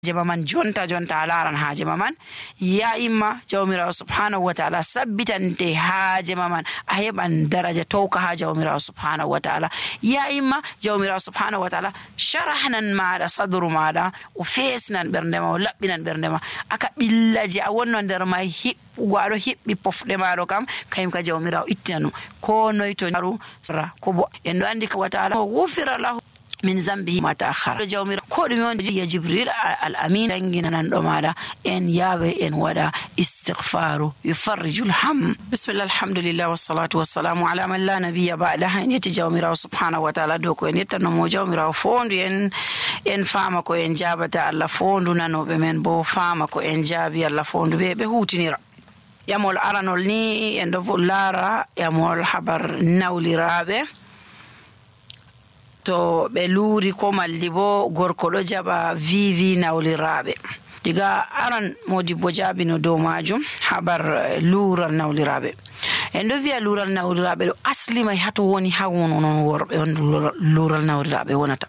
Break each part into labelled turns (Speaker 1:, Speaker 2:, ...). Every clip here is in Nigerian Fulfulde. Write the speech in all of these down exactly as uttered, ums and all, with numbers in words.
Speaker 1: jema man jonta jonta alaran haaje man ya imma jawmirawo subhanahu wa ta'ala sabbitante haaje man a heban daraja tawka ha jawmirawo subhanahu wa ta'ala ya imma jawmirawo subhanahu wa ta'ala sharahnan maada sadru maada o fesnan berndema o labbinan berndema aka billaji a wonno der mai hibbugo ado hibbi pofde maado kam kayim ka jawmirawo ittanu ko noyto naru sara ko bo en do andi ka wa ta'ala ghufira lahu min zambihi ma ta'akhkhara jawmira ko dum on ya jibril al amin dangina nan do mada en yawe en wada istighfaru yufarrijul ham bismillah alhamdulillah wassalatu wassalamu ala man la nabiyya ba'dahu en yati jawmira subhanahu wa ta'ala do ko en yetano mo jawmira fondu en en fama ko en jabata Allah fondu nanobe men bo fama ko en jabi Allah fondu be be hutinira yamol aranol ni en do lara yamol habar nawlirabe to be luri ko malli bo gorko do jaba vivi nawlirabe diga aran modibbo jabino do majum habar lural nawlirabe en do via lural nawlirabe do asli mai hato woni ha wono non worbe on lural nawlirabe wonata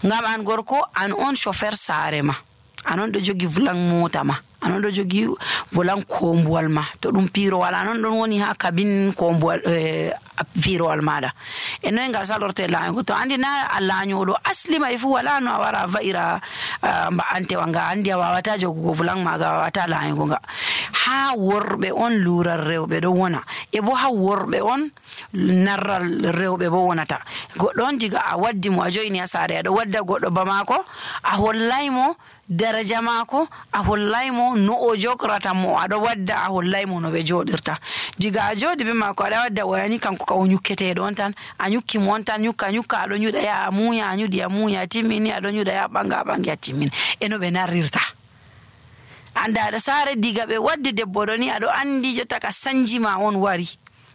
Speaker 1: ngam an gorko an on chauffeur sare ma anon do jogi vulang mota ma anon do jogi volan kombuwal ma to dum piro wala non don woni ha cabine kombuwal eh, piro wal mada e no nga salorte la ngo to andi na alla nyodo asli mai fu wala no wara vaira uh, mba ante wanga andi wawata jogo vulan maga wawata la ngo nga ha worbe on lurar rewbe do wona e bo ha worbe on narral rewbe bo wonata goddo on diga a waddi mo ajoyni asare do wadda goddo ba mako a hollaymo daraja mako a hollaymo no o jokrata mo ado wadda a hollaymo no be jodirta diga a jodi be mako ada wadda wayani kanko ka o nyukkete don tan a nyukki mon tan nyukka nyukka ado nyuda ya amuya anyudi ya muya timini ado nyuda ya banga banga timini eno be narirta anda da sare diga be wadde debbo doni ado andi jotta ka sanjima on wari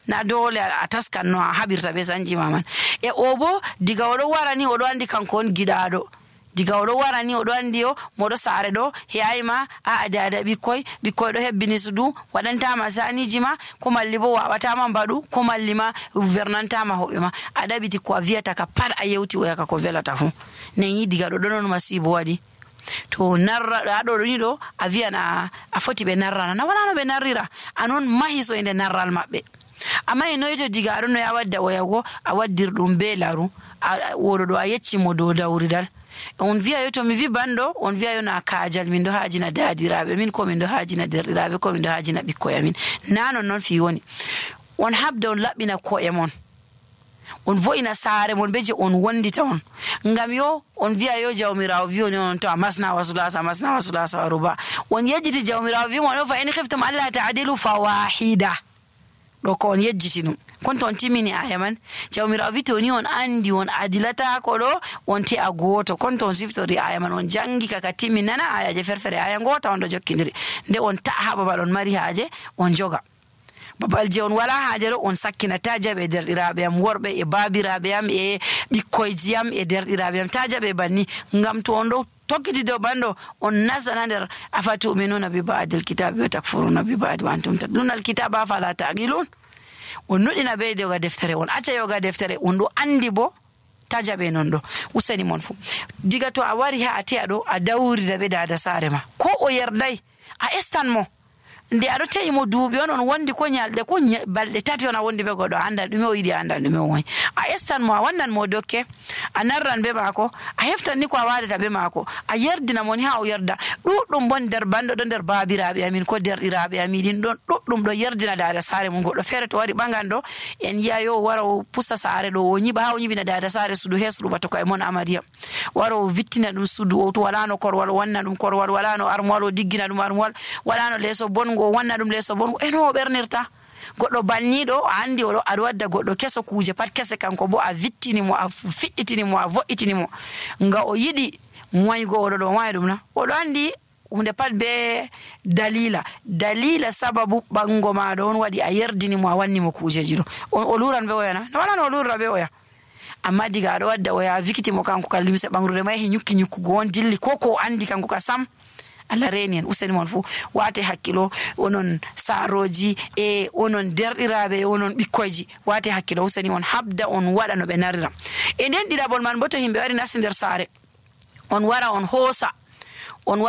Speaker 1: na dole a taskan no habirta be sanjima man e obo diga odo warani odo andi kanko on gidado diga odo warani odo andi o modo sare do heyayma a ada ada bikoy bikoy do hebbini sudu wadanta ma sani jima ko malli bo wawata man badu ko malli ma gouvernanta ma hobbe ma ada biti ko viata ka par a yewti o yaka ko velata fu ne yi diga do donon masibo wadi to narra ado ni do a viana a foti be narrana na wala no be narrira anon mahiso inde narral mabbe amma eno yeto diga do no ya wadda o yago a waddir dum be laru wodo do a yecci mo do dawridal on via yoto mi vi bando on via yona kaajal min do haajina daadirabe min ko min do haajina derdiraabe ko min do haajina bikkoya min nano non fi woni on habda on labbina ko e mon on voina saare mon beje on wondita on ngam yo on via yo jawmirawo vi on to masna wasulasa masna wasulasa ruba on yejjiti jawmirawo vi mon fa in khiftum alla ta'dilu fawahida do ko on yejjiti num konto on timini ayaman jawmirawo vi to ni on andi on adilata ko do on te a goto konto on siftori ayaman on jangi kaka timinana ayaje ferfere aya ngota on do jokkindiri nde on ta ha babal on mari haaje on joga babal je on wala haaje do on sakkina tajabe derdirabe am worbe e babirabe am e bikkoyji am e derdirabe am tajabe banni ngam to on do tokkiti do bando on nasana der afatu minuna bi ba'dil kitabi wa takfuruna bi ba'd wa antum tadluna al kitaba fala ta'qilun on nodina be de ga deftere on acca yoga deftere on do andi bo tajabe non do usani mon fu diga to a wari ha ati ado a dawri da be da sare ma ko o yerdai a estan mo nde ado tayi mo duubi on on wondi ko nyalde ko balde tati on wondi be godo anda dum o yidi anda dum o won a estan mo wannan mo dokke a narran be mako a heftan ni ko a wadi be mako a yerdina moni ha o yerda dudum bon der bando do der babiraabe amin ko der iraabe amin don dudum do yerdina daada sare mo godo fere to wari bangando en yayo waro pusa sare do o nyiba ha o nyibina daada sare sudu hesru bato ko e mon amadiya waro vittina dum sudu o to wala no korwal wanna dum korwal wala no armwal o diggina dum armwal wala no leso bon go wanna dum leso bon eno bernirta goddo bannido andi o ado wadda goddo keso kuje pat kese kanko bo a vittini mo a fidditini mo a vo'itini mo nga o yidi moygo o do way dum na o do andi hunde pat be dalila dalila sababu bango ma don wadi a yerdini mo a wanni mo kujeji do o luran be oyana wala no lura be oya amma diga ado wadda o ya vikiti mo kanko kallimse bangrude mai hi nyukki nyukku go on dilli koko andi kanko ka sam alla renien useni mon fu wate hakkilo onon saroji e onon derdirabe onon bikkoyji wate hakkilo useni on habda on wada no be narira e den didabol man boto himbe wari nasinder sare on wara on hosa on